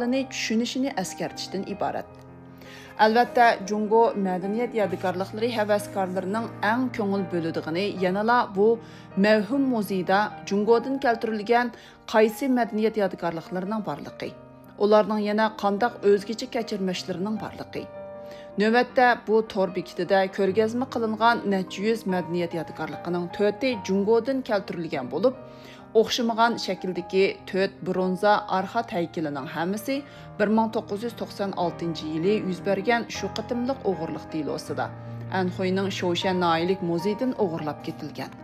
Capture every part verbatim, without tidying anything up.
ئەھۋالىنى چۈشىنىشىنى ئەسكەرتىشتىن ئىبارەت. ئەلۋەتتە، جۇڭگو مەدەنىيەت يادىكارلىقلىرى ھەۋەسكارلىرىنىڭ ئەڭ كۆڭۈل بۆلىدىغىنى يەنىلا بۇ مەۋھۇم مۇزېيدا جۇڭگودىن كەلتۈرۈلگەن قايسى مەدەنىيەت يادىكارلىقلىرىنىڭ بارلىقى، ئۇلارنىڭ يەنە قانداق ئۆزگىچە كەچۈرمىشلىرىنىڭ بارلىقى. نۆۋەتتە، بۇ تور بېكىتىدە كۆرگەزمە قىلىنغان نەچچە يۈز مەدەنىيەت يادىكارلىقىنىڭ تۆتى جۇڭگودىن كەلتۈرۈلگەن بولۇپ، ئوخشىمىغان شەكىلدىكى تۆت برونزا ئارخات ھەيكىلىنىڭ ھەممىسى بىر مىڭ توققۇز يۈز توقسان ئالتىنچى يىلى يۈز بەرگەن شۇ قېتىملىق ئوغرىلىق دېلوسىدا ئەنخۇينىڭ شوشەن ناھىيەلىك مۇزېيىدىن ئوغرىلاپ كېتىلگەن.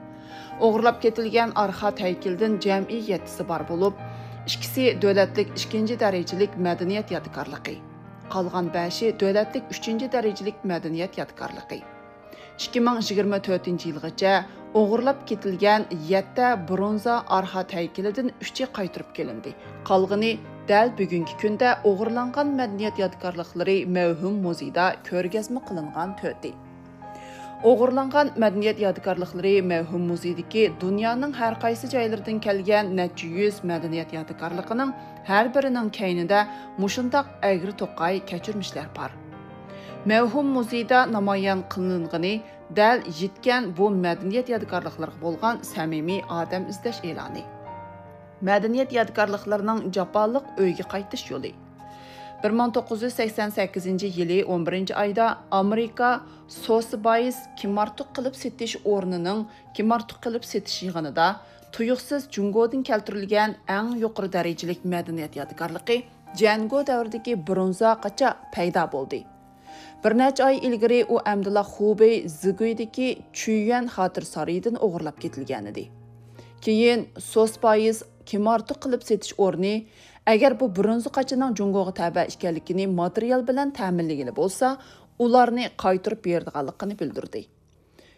ئوغرىلاپ كېتىلگەن ئارخات ھەيكىلدىن جەمئىي يەتتىسى بار بولۇپ، ئىككىسى دۆلەتلىك ئىككىنچى دەرىجىلىك مەدەنىيەت يادىكارلىقى، قالغان بەشى دۆلەتلىك ئۈچىنچى دەرىجىلىك مەدەنىيەت يادىكارلىقى. ئىككى مىڭ يىگىرمە تۆتىنچى يىلغىچە ئوغرىلاپ كېتىلگەن يەتتە برونزا ئارخات ھەيكىلىدىن ئۈچى قايتۇرۇپ كېلىندى. قالغىنى دەل بۈگۈنكى كۈندە ئوغرىلانغان مەدەنىيەت يادىكارلىقلىرى مەۋھۇم مۇزېيدا كۆرگەزمە قىلىنغان تۆتى. ئوغرىلانغان مەدەنىيەت يادىكارلىقلىرى مەۋھۇم مۇزېيدىكى دۇنيانىڭ ھەر قايسى جايلىرىدىن كەلگەن نەچچە يۈز مەدەنىيەت يادىكارلىقىنىڭ ھەر بىرىنىڭ كەينىدە مۇشۇنداق ئەگرى توقاي كەچۈرمىشلەر بار. مەۋھۇم مۇزېيدا نامايان قىلىنغىنى دەل يىتكەن بۇ مەدەنىيەت يادىكارلىقلىرىغا بولغان سەمىمىي ئادەم ئىزدەش ئېلانى. مەدەنىيەت يادىكارلىقلىرىنىڭ جاپالىق ئۆيگە قايتىش يولى. بىر مىڭ توققۇز يۈز سەكسەن سەككىزىنچى يىلى ئون بىرىنچى ئايدا ئامېرىكا سوسىبايس كىمئارتۇق قىلىپ سېتىش ئورنىنىڭ كىمئارتۇق قىلىپ سېتىش يىغىنىدا تۇيۇقسىز جۇڭگودىن كەلتۈرۈلگەن ئەڭ يۇقىرى دەرىجىلىك مەدەنىيەت يادىكارلىقى جيەنگو دەۋرىدىكى برونزا قاچا پەيدا بولدى. بىر نەچچە ئاي ئىلگىرى ئۇ ئەمدىلا خۇبېي زىگۇيدىكى چۈيۈەن خاتىرە سارىيىدىن ئوغرىلاپ كېتىلگەنىدى. كېيىن سوسپايىز كىمئارتۇق قىلىپ سېتىش ئورنى، ئەگەر بۇ برونزا قاچىنىڭ جۇڭگوغا تەبە ئىكەنلىكىنى ماتېرىيال بىلەن تەمىنلىگىلى بولسا، ئۇلارنى قايتۇرۇپ بېرىدىغانلىقىنى بىلدۈردى.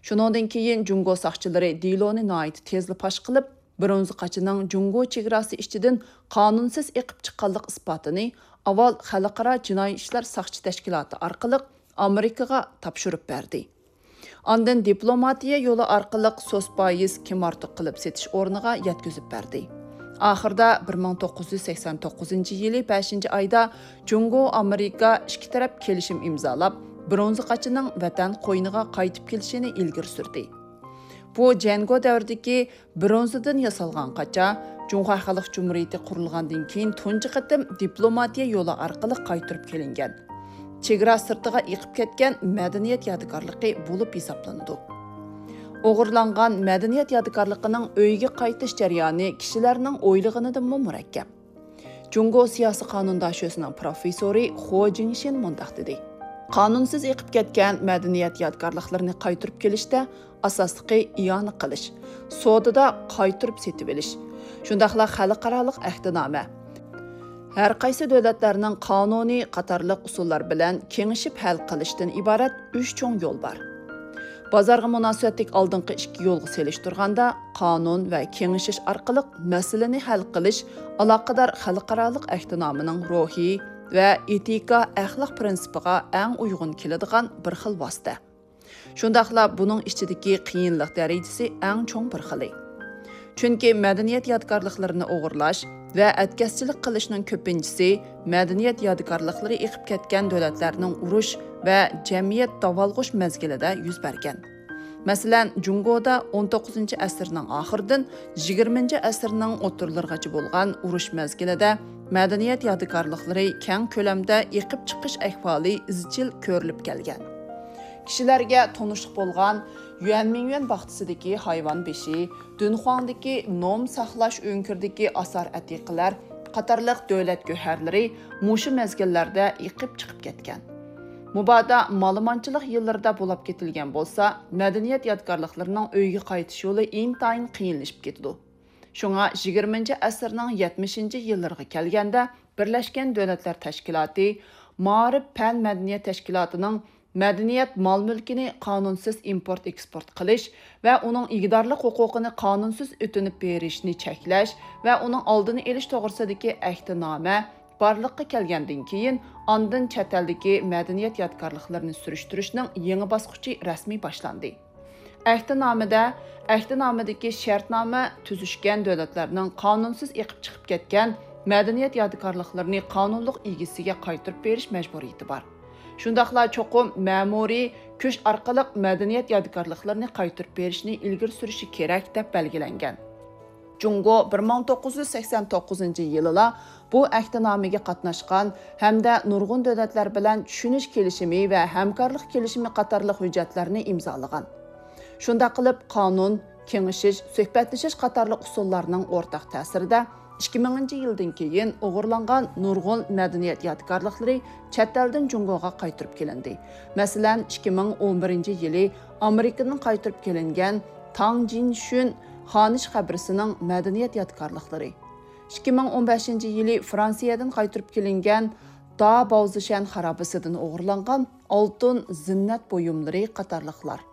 شۇنىڭدىن كېيىن جۇڭگو ساقچىلىرى دېلونى ناھايىتى تېزلا پاش قىلىپ، برونزا قاچىنىڭ جۇڭگو چېگراسى ئىچىدىن قانۇنسىز ئېقىپ چىققانلىق ئىسپاتىنى ئاۋۋال خەلقئارا جىنايى ئىشلار ساقچى تەشكىلاتى ئارقىلىق ئامېرىكىغا تاپشۇرۇپ بەردى. ئاندىن دىپلوماتىيە يولى ئارقىلىق سوسپايىز كىمئارتۇق قىلىپ سېتىش ئورنىغا يەتكۈزۈپ بەردى. ئاخىرىدا بىر مىڭ توققۇز يۈز سەكسەن توققۇزىنچى يىلى بەشىنچى ئايدا جۇڭگو ئامېرىكا ئىككى تەرەپ كېلىشىم ئىمزالاپ، برونزا قاچىنىڭ ۋەتەن قوينىغا قايتىپ كېلىشىنى ئىلگىرى سۈردى. بۇ جيەنگو دەۋرىدىكى برونزىدىن ياسالغان قاچا جۇڭخۇا خەلق جۇمھۇرىيىتى قۇرۇلغاندىن كېيىن تۇنجى قېتىم دىپلوماتىيە يولى ئارقىلىق قايتۇرۇپ كېلىنگەن، چېگرا سىرتىغا ئېقىپ كەتكەن مەدەنىيەت يادىكارلىقى بولۇپ ھېسابلىنىدۇ. ئوغرىلانغان مەدەنىيەت يادىكارلىقىنىڭ ئۆيىگە قايتىش جەريانى كىشىلەرنىڭ ئويلىغىنىدىنمۇ مۇرەككەپ. جۇڭگو سىياسىي قانۇن داشۆسىنىڭ پروفېسسورى خو جىڭشىن مۇنداق دېدى: قانۇنسىز ئېقىپ كەتكەن مەدەنىيەت يادىكارلىقلىرىنى قايتۇرۇپ كېلىشتە ئاساسلىقى ئىئانە قىلىش، سودىدا قايتۇرۇپ سېتىۋېلىش، شۇنداقلا خەلقئارالىق ئەھدىنامە، ھەر قايسى دۆلەتلەرنىڭ قانۇنى قاتارلىق ئۇسۇللار بىلەن كېڭىشىپ ھەل قىلىشتىن ئىبارەت ئۈچ چوڭ يول بار. بازارغا مۇناسىۋەتلىك ئالدىنقى ئىككى يولغا سېلىشتۇرغاندا، قانۇن ۋە كېڭىشىش ئارقىلىق مەسىلىنى ھەل قىلىش ئالاقىدار خەلقئارالىق ئەھدىنامىنىڭ روھى ۋە ئېتىكا ئەخلاق پىرىنسىپىغا ئەڭ ئۇيغۇن كېلىدىغان بىر خىل ۋاسىتە. شۇنداقلا بۇنىڭ ئىچىدىكى قىيىنلىق دەرىجىسى ئەڭ چوڭ بىر خىلى. چۈنكى مەدەنىيەت يادىكارلىقلىرىنى ئوغرىلاش ۋە ئەتكەسچىلىك قىلىشنىڭ كۆپىنچىسى مەدەنىيەت يادىكارلىقلىرى ئېقىپ كەتكەن دۆلەتلەرنىڭ ئۇرۇش ۋە جەمئىيەت داۋالغۇش مەزگىلىدە يۈز بەرگەن. مەسىلەن، جۇڭگودا ئون توققۇزىنچى ئەسىرنىڭ ئاخىرىدىن يىگىرمىنچى ئەسىرنىڭ ئوتتۇرىلىرىغىچە بولغان ئۇرۇش مەزگىلىدە مەدەنىيەت يادىكارلىقلىرى كەڭ كۆلەمدە ئېقىپ چىقىش ئەھۋالى ئىزچىل كۆرۈلۈپ كەلگەن. كىشىلەرگە تونۇشلۇق بولغان يۈەنمىڭيۈەن باغچىسىدىكى ھايۋان بېشى، دۇنخۇاڭدىكى نوم ساقلاش ئۆڭكۈرىدىكى ئاسار ئەتىقىلەر قاتارلىق دۆلەت گۆھەرلىرى مۇشۇ مەزگىللەردە ئېقىپ چىقىپ كەتكەن. مۇبادا مالىمانچىلىق يىللىرىدا بۇلاپ كېتىلگەن بولسا، مەدەنىيەت يادىكارلىقلىرىنىڭ ئۆيگە قايتىش يولى ئىنتايىن قىيىنلىشىپ كېتىدۇ. شۇڭا يىگىرمىنچى ئەسىرنىڭ يەتمىشىنچى يىللىرىغا كەلگەندە، بىرلەشكەن دۆلەتلەر تەشكىلاتى مائارىپ پەن مەدەنىيەت تەشكىلاتىنىڭ مەدەنىيەت مال-مۈلكىنى قانۇنسىز ئىمپورت-ئېكسپورت قىلىش ۋە ئۇنىڭ ئىگىدارلىق ھوقۇقىنى قانۇنسىز ئۆتۈنۈپ بېرىشنى چەكلەش ۋە ئۇنىڭ ئالدىنى ئېلىش توغرىسىدىكى ئەھدىنامە بارلىققا كەلگەندىن كېيىن، ئاندىن چەت ئەلدىكى مەدەنىيەت يادىكارلىقلىرىنى سۈرۈشتۈرۈشنىڭ يېڭى باسقۇچى رەسمىي باشلاندى. ئەھدىنامىدە، ئەھدىنامىدىكى شەرتنامە تۈزۈشكەن دۆلەتلەرنىڭ قانۇنسىز ئېقىپ چىقىپ كەتكەن مەدەنىيەت يادىكارلىقلىرىنى قانۇنلۇق ئىگىسىگە قايتۇرۇپ بېرىش مەجبۇرىيىتى بار. شۇنداقلا چوقۇم مەمۇرىي كۈچ ئارقىلىق مەدەنىيەت يادىكارلىقلىرىنى قايتۇرۇپ بېرىشنى ئىلگىرى سۈرۈشى كېرەك، دەپ بەلگىلەنگەن. جۇڭگو بىر مىڭ توققۇز يۈز سەكسەن توققۇزىنچى يىلىلا بۇ ئەھدىنامىگە قاتناشقان ھەمدە نۇرغۇن دۆلەتلەر بىلەن چۈشىنىش كېلىشىمى ۋە ھەمكارلىق كېلىشىمى قاتارلىق ھۆججەتلەرنى ئىمزالىغان. شۇنداق قىلىپ، قانۇن، كېڭىشىش، سۆھبەتلىشىش قاتارلىق ئۇسۇللارنىڭ ئورتاق تەسىرىدە، ئىككى مىڭىنچى يىلدىن كېيىن ئوغرىلانغان نۇرغۇن مەدەنىيەت يادىكارلىقلىرى چەت ئەلدىن جۇڭگوغا قايتۇرۇپ كېلىندى. مەسىلەن، ئىككى مىڭ ئون بىرىنچى يىلى ئامېرىكىدىن قايتۇرۇپ كېلىنگەن تاڭ جىنشۈن خانىش قەبرىسىنىڭ مەدەنىيەت يادىكارلىقلىرى، ئىككى مىڭ ئون بەشىنچى يىلى فرانسىيەدىن قايتۇرۇپ كېلىنگەن دا باۋزىشەن خارابىسىدىن ئوغرىلانغان ئالتۇن زىننەت بۇيۇملىرى قاتارلىقلار.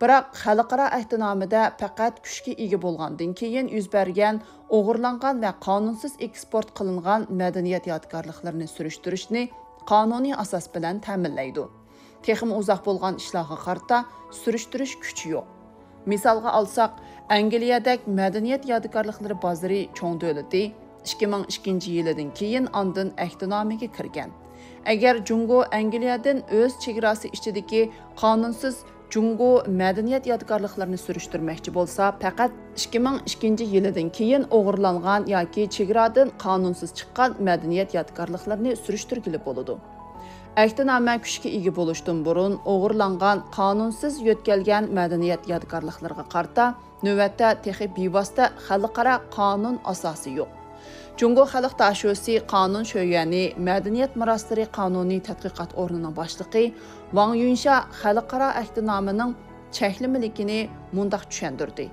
بىراق، خەلقئارا ئەھدىنامىدە پەقەت كۈچكە ئىگە بولغاندىن كېيىن يۈز بەرگەن ئوغرىلانغان ۋە قانۇنسىز ئېكسپورت قىلىنغان مەدەنىيەت يادىكارلىقلىرىنى سۈرۈشتۈرۈشنى قانۇنىي ئاساس بىلەن تەمىنلەيدۇ. تېخىمۇ ئۇزاق بولغان ئىشلارغا قارىتا سۈرۈشتۈرۈش كۈچى يوق. مىسالغا ئالساق، ئەنگلىيەدەك مەدەنىيەت يادىكارلىقلىرى بازىرى چوڭ دۆلىتى ئىككى مىڭ ئىككىنچى يىلىدىن كېيىن ئاندىن ئەھدىنامىگە كىرگەن. ئەگەر جۇڭگو ئەنگلىيەدىن ئۆز چېگراسى ئىچىدىكى قانۇنسىز جۇڭگو مەدەنىيەت يادىكارلىقلىرىنى سۈرۈشتۈرمەكچى بولسا، پەقەت ئىككى مىڭ ئىككىنچى يىلىدىن كېيىن ئوغرىلانغان ياكى چېگرادىن قانۇنسىز چىققان مەدەنىيەت يادىكارلىقلىرىنى سۈرۈشتۈرگىلى بولىدۇ. ئەھدىنامە كۈچكە ئىگە بولۇشتىن بۇرۇن ئوغرىلانغان قانۇنسىز يۆتكەلگەن مەدەنىيەت يادىكارلىقلىرىغا قارىتا نۆۋەتتە تېخى بىۋاسىتە خەلقئارا قانۇن ئاساسى يوق. جۇڭگو خەلق داشۆسى قانۇن شۆيۈەنى مەدەنىيەت مىراسلىرى قانۇنىي تەتقىقات ئورنىنىڭ باشلىقى ۋاڭ يۈنشا خەلقئارا ئەھدىنامىنىڭ چەكلىمىلىكىنى مۇنداق چۈشەندۈردى: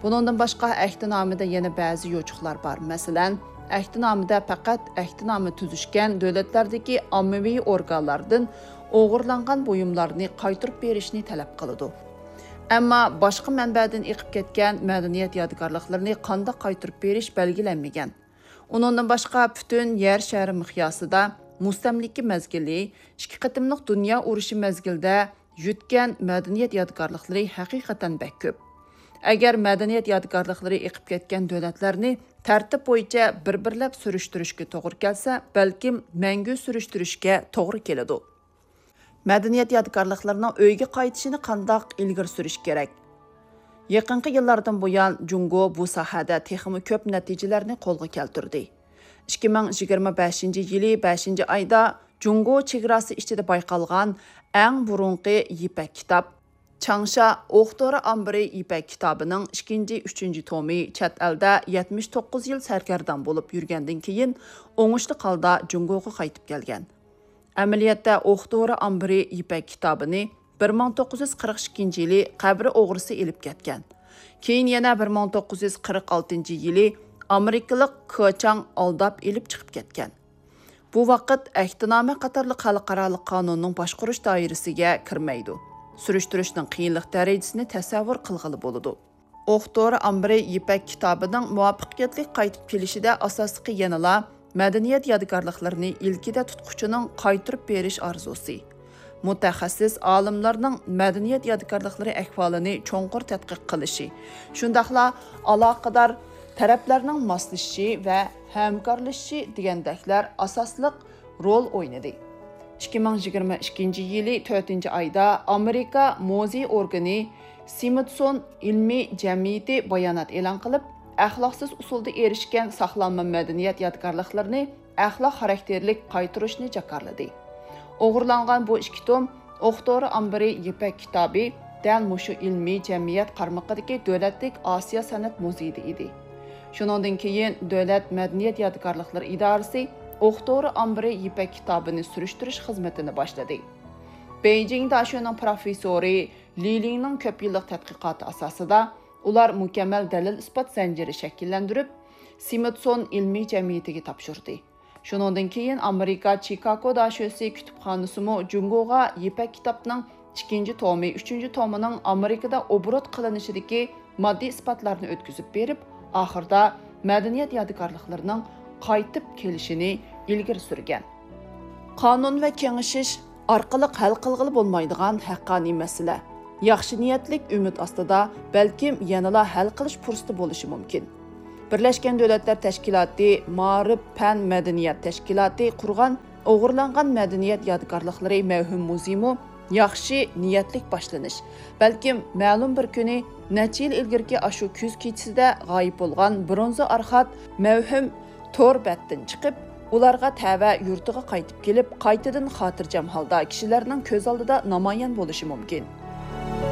بۇنىڭدىن باشقا، ئەھدىنامىدە يەنە بەزى يوچۇقلار بار. مەسىلەن، ئەھدىنامىدە پەقەت ئەھدىنامە تۈزۈشكەن دۆلەتلەردىكى ئاممىۋى ئورگانلاردىن ئوغرىلانغان بۇيۇملارنى قايتۇرۇپ بېرىشنى تەلەپ قىلىدۇ. ئەمما باشقا مەنبەدىن ئېقىپ كەتكەن مەدەنىيەت يادىكارلىقلىرىنى قانداق قايتۇرۇپ بېرىش بەلگىلەنمىگەن. ئۇنىڭدىن باشقا، پۈتۈن يەر شارى مىقياسىدا مۇستەملىكە مەزگىلى، ئىككى قېتىملىق دۇنيا ئۇرۇشى مەزگىلىدە يۆتكەن مەدەنىيەت يادىكارلىقلىرى ھەقىقەتەن بەك كۆپ. ئەگەر مەدەنىيەت يادىكارلىقلىرى ئېقىپ كەتكەن دۆلەتلەرنى تەرتىپ بويىچە بىر-بىرلەپ سۈرۈشتۈرۈشكە توغرا كەلسە، بەلكىم مەڭگۈ سۈرۈشتۈرۈشكە توغرا كېلىدۇ. مەدەنىيەت يادىكارلىقلىرىنىڭ ئۆيگە قايتىشىنى قانداق ئىلگىرى سۈرۈش كېرەك؟ يېقىنقى يىللاردىن بۇيان، جۇڭگو بۇ ساھەدە تېخىمۇ كۆپ نەتىجىلەرنى قولغا كەلتۈردى. ئىككى مىڭ يىگىرمە بەشىنچى يىلى بەشىنچى ئايدا جۇڭگو چېگراسى ئىچىدە بايقالغان ئەڭ بۇرۇنقى يىپەك كىتاب، چاڭشا ئوق تورى ئامبىرى يىپەك كىتابىنىڭ ئىككىنچى، ئۈچىنچى تومى چەت ئەلدە يەتمىش توققۇز يىل سەرگەردان بولۇپ يۈرگەندىن كېيىن، ئوڭۇشلۇق ھالدا جۇڭگوغا قايتىپ كەلگەن. ئەمەلىيەتتە، ئوق تورى ئامبىرى يىپەك كىتابىنى بىر مىڭ توققۇز يۈز قىرىق ئىككىنچى يىلى قەبرە ئوغرىسى ئېلىپ كەتكەن. كېيىن يەنە بىر مىڭ توققۇز يۈز قىرىق ئالتىنچى يىلى ئامېرىكىلىق كېچاڭ ئالداپ ئېلىپ چىقىپ كەتكەن. بۇ ۋاقىت ئەھدىنامە قاتارلىق خەلقئارالىق قانۇننىڭ باشقۇرۇش دائىرىسىگە كىرمەيدۇ. سۈرۈشتۈرۈشنىڭ قىيىنلىق دەرىجىسىنى تەسەۋۋۇر قىلغىلى بولىدۇ. ئوق تورى ئامبىرى يىپەك كىتابىنىڭ مۇۋەپپەقىيەتلىك قايتىپ كېلىشىدە ئاساسلىقى يەنىلا مەدەنىيەت يادىكارلىقلىرىنى ئىلكىدە تۇتقۇچىنىڭ قايتۇرۇپ بېرىش ئارزۇسى. مۇتەخەسسىس ئالىملارنىڭ مەدەنىيەت يادىكارلىقلىرى ئەھۋالىنى چوڭقۇر تەتقىق قىلىشى، شۇنداقلا ئالاقىدار تەرەپلەرنىڭ ماسلىشىشى ۋە ھەمكارلىشىشى دېگەندەكلەر ئاساسلىق رول ئوينىدى. ئىككى مىڭ يىگىرمە ئىككىنچى يىلى تۆتىنچى ئايدا ئامېرىكا مۇزېي ئورگىنى سمىتسون ئىلمىي جەمئىيىتى بايانات ئېلان قىلىپ، ئەخلاقسىز ئۇسۇلدا ئېرىشكەن ساقلانما مەدەنىيەت يادىكارلىقلىرىنى ئەخلاق خاراكتېرلىك قايتۇرۇشنى جاكارلىدى. ئوغرىلانغان بۇ ئىككى توم ئوق تورى ئامبىرى يىپەك كىتابى دەل مۇشۇ ئىلمىي جەمئىيەت قارمىقىدىكى دۆلەتلىك ئاسىيا سەنئەت مۇزېيىدا ئىدى. شۇنىڭدىن كېيىن دۆلەت مەدەنىيەت يادىكارلىقلىرى ئىدارىسى ئوق تورى ئامبىرى يىپەك كىتابىنى سۈرۈشتۈرۈش خىزمىتىنى باشلىدى. بېيجىڭ داشۆنىڭ پروفېسسورى لى لىڭنىڭ كۆپ يىللىق تەتقىقاتى ئاساسىدا، ئۇلار مۇكەممەل دەلىل-ئىسپات زەنجىرى شەكىللەندۈرۈپ، سمىتسون ئىلمىي جەمئىيىتىگە تاپشۇردى. شۇنىڭدىن كېيىن ئامېرىكا چىكاگو داشۆسى كۇتۇپخانىسىمۇ جۇڭگوغا يىپەك كىتابنىڭ ئىككىنچى تومى، ئۈچىنچى تومىنىڭ ئامېرىكىدا ئوبوروت قىلىنىشىدىكى ماددىي ئىسپاتلارنى ئۆتكۈزۈپ بېرىپ، ئاخىرىدا مەدەنىيەت يادىكارلىقلىرىنىڭ قايتىپ كېلىشىنى ئىلگىرى سۈرگەن. قانۇن ۋە كېڭىشىش ئارقىلىق ھەل قىلغىلى بولمايدىغان ھەققانىي مەسىلە. ياخشى نىيەتلىك ئۈمىد ئاستىدا بەلكىم يەنىلا ھەل قىلىش پۇرسىتى بولۇشى مۇمكىن. بىرلەشكەن دۆلەتلەر تەشكىلاتى مائارىپ پەن مەدەنىيەت تەشكىلاتى قۇرغان ئوغرىلانغان مەدەنىيەت يادىكارلىقلىرى مەۋھۇم مۇزېيمۇ ياخشى نىيەتلىك باشلىنىش. بەلكىم مەلۇم بىر كۈنى نەچچە يىل ئىلگىرىكى ئاشۇ كۈز كېچىسىدە غايىب بولغان برونزا ئارخات مەۋھۇم تور بەتتىن چىقىپ، ئۇلارغا تەۋە يۇرتىغا قايتىپ كېلىپ، قايتىدىن خاتىرجەم ھالدا كىشىلەرنىڭ كۆز ئالدىدا نامايان بولۇشى مۇمكىن.